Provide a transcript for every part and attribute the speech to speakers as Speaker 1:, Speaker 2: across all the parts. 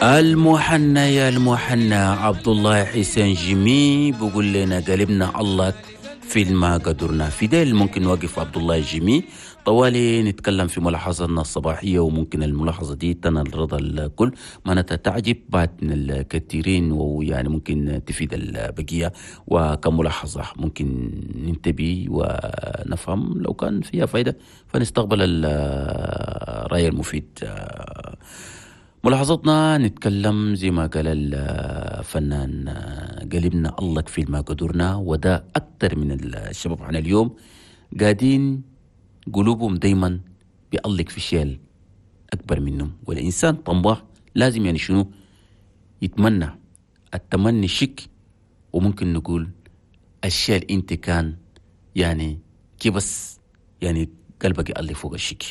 Speaker 1: المحنى يا المحنى عبد الله حسين جيمي بقول لنا قلبنا الله في ما قدرنا في ديل. ممكن نوقف عبد الله جيمي طوالي نتكلم في ملاحظتنا الصباحية، وممكن الملاحظة دي تنال رضا الكل، معناتها تعجب بعد من الكثيرين، ويعني ممكن تفيد البقية. وكملاحظة ممكن ننتبه ونفهم لو كان فيها فايدة فنستقبل الرأي المفيد. ملاحظتنا نتكلم زي ما قال الفنان قلبنا الله كفيل ما قدرنا، وده أكتر من الشباب عن اليوم قاعدين قلوبهم دايما بيألق في شيء أكبر منهم. والإنسان طماح لازم يعني شنو يتمنى، التمني شك، وممكن نقول الشيء اللي انت كان يعني كبس يعني قلبك يألق فوق الشك.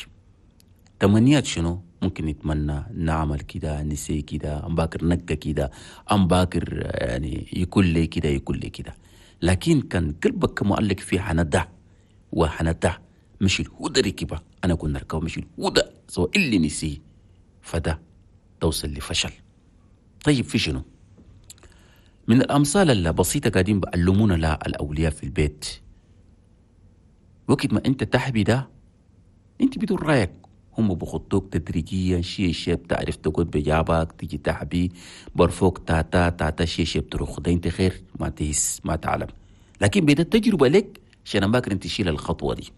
Speaker 1: تمنيات شنو ممكن نتمنى نعمل كده، نسي كده، أم باكر نقى كده، أم باكر يعني يكون لي كده يكون لي كده. لكن كان قلبك مؤلق فيه حنده وحنده مش الهدى ركبه، أنا كنا ركبه مش الهدى سواء اللي نسي، فده توصل لفشل. طيب في شنو من الأمثال البسيطة قاعدين بألمونا لا الأولياء في البيت؟ وقت ما أنت تحبي ده أنت بدون رأيك هم بخطوك تدريجيا، شيء شيء بتعرف تقعد بجابك تيجي تحبي برفوك تاتا تاتا شيء شيء بتروح ده انت خير ما تهس ما تعلم. لكن بيدا التجربة لك عشان باكر انت تشيل الخطوة دي.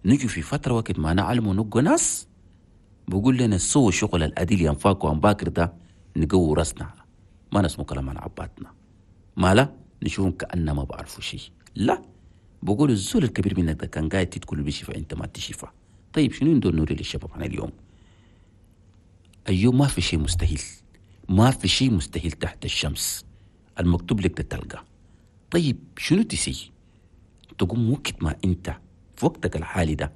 Speaker 1: نجي في فترة وقت ما نعلم ونقو ناس بقول لنا سووا شغل الأديل ينفاك وان باكر ده نقو راسنا ما نسمو كلام عن عباتنا ما لا نشوفهم كأننا ما بعرفوا شيء. لا بقول الزول الكبير منك ده كان قاعد تدخل بشفا انت ما تشفى. طيب شنو ندور نوري للشباب عن اليوم؟ أيوه ما في شيء مستحيل، ما في شيء مستحيل تحت الشمس، المكتوب لك ده تلقى. طيب شنو تسي؟ تقوم وقت ما انت في وقتك الحالي ده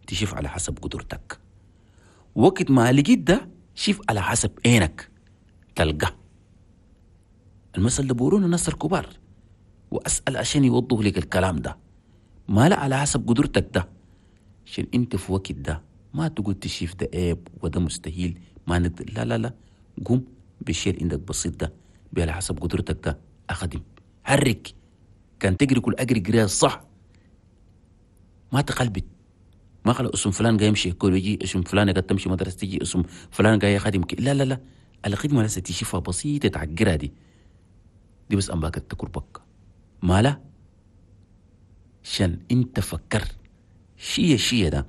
Speaker 1: تشوف على حسب قدرتك، وقت ما لقيت ده شوف على حسب عينك تلقى. المثل ده بيقولونه الناس الكبار، وأسأل عشان يوضحوا لك الكلام ده. ما لا على حسب قدرتك ده، عشان انت في وقت ده ما تقول تشيف ده عيب وده مستحيل ما نقدر. لا لا لا، قوم بالشيء اللي عندك بسيط ده على حسب قدرتك ده اخدم حرك. كان تجري كل اجري جري صح، ما تقلبت ما خلق اسم فلان جاي يمشي كل يجي اسم فلان قاعد تمشي مدرسه تيجي اسم فلان جاي خادم لا لا لا، الخدمه لسه تشوفها بسيطه تعجرها دي بس ام باكت تكربك ما لا عشان انت فكر شيء شيء ده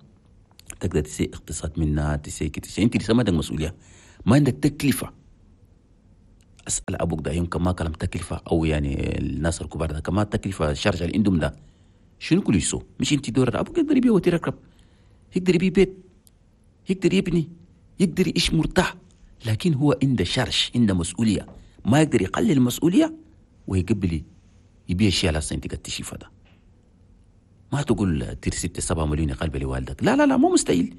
Speaker 1: تقدر تسي اقتصاد منها تسي كده. انت لسه ما عندك مسؤوليه، ما عندك تكلفه. اسال ابوك ده يمكن ما كلام تكلفه، او يعني الناس الكبار ده كمان تكلفه الشارجه اللي عندهم ده شنو كل يسو؟ مش انت دور ابوك يقدر يبيع وتركب، يقدر يبيع بيت، يقدر يبني، يقدر يعيش مرتاح، لكن هو عنده شرش، عنده مسؤوليه، ما يقدر يقلل المسؤوليه ويقبل يبيع شيء على انت قد تشوفه ده. ما تقول تير 6 7 مليون قلبه لوالدك، لا لا لا مو مستحيل،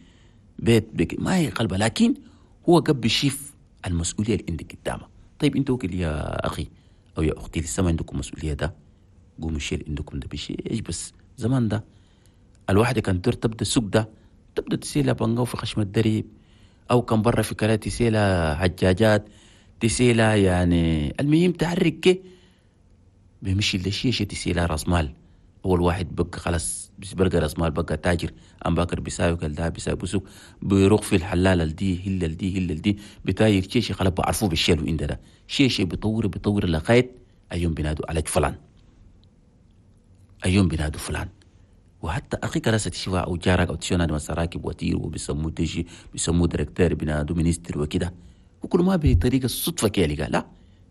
Speaker 1: بيت بك ما هي قلبه، لكن هو قبل يشوف المسؤوليه اللي عندك قدامه. طيب انت وكل يا اخي او يا اختي لسه ما عندكم مسؤوليه ده، قوموا الشيء اللي عندكم ده بشيء ايش. بس زمان ده الواحدة كان تدور تبدا السوق ده تبدا تسيلها بنقو في خشم الدريب، او كان برا في كلا تسيلها حجاجات تسيلها يعني المهم تحرك بيمشي لشيء شيء تسيلها راس مال. اول واحد بقى خلاص بلقى راس مال بقى تاجر، ام باكر بيساوي كل ده بيساوي بسوق بيروح في الحلال دي هلل دي هلل دي بتاير شيء شيء خلاص بعرفوه بالشيء اللي ده شيء شيء بيطور بيطور لغايه ايوم بينادوا على فلان، ايوم بينادوا فلان. وحتى اخيك راسة تشوفها او جارك او تشوفها مثلا راكب وتير وبيسموه تيجي بيسموه directeur بينادوا ministre وكده، وكل ما بطريقه الصدفه كده لا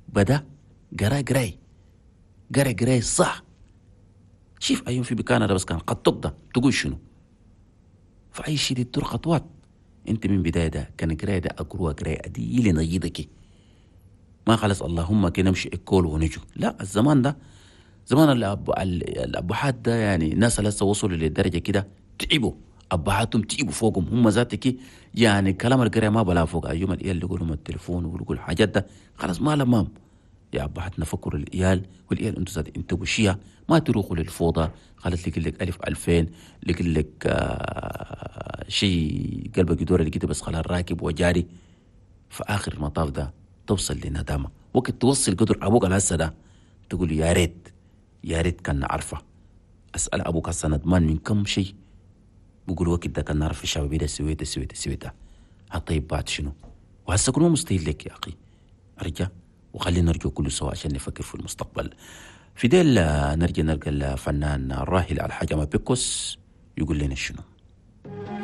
Speaker 1: بدا قرا قراي قرا قراي صح. شوف أيوم في بكان بس كان قد ده تقول شنو؟ فأي شيء دي تدور خطوات. أنت من بداية ده كان قراية ده أقروها قراية دي اللي نجيدك ما خلص اللهم كي نمشي إكول ونجو. لا الزمان ده زمان الأبهات ده يعني الناس لسه وصلوا للدرجة كده تعبوا أبهاتهم تعبوا فوقهم هم ذاتك يعني كلام القراية ما بلا فوق. أيوم العيال اللي يقولوا التليفون ويقولوا الحاجات ده خلاص ما لمام. يا أبهاتنا فكروا العيال والعيال انتوا ذات انتوا شيا ما تروحوا للفوضى. خلت لك لك 1000 2000 لك لك شيء قلبك يدور اللي كده بس خلاص راكب وجاري. في آخر المطاف ده توصل لندامة. وقت توصل قدر أبوك الهسه ده تقول يا ريت، يا ريت كان نعرفه. أسأل أبوك هسه ندمان من كم شيء، بقول وقت ده كان نعرف الشباب ده سويته سويته سويته. طيب بعد شنو؟ وهسه كله مستحيل لك يا أخي. أرجع وخلينا نرجع كله سوا عشان نفكر في المستقبل. في ديل نرجع نلقى الفنان الراحل الحاج بيكوس يقول لنا شنو.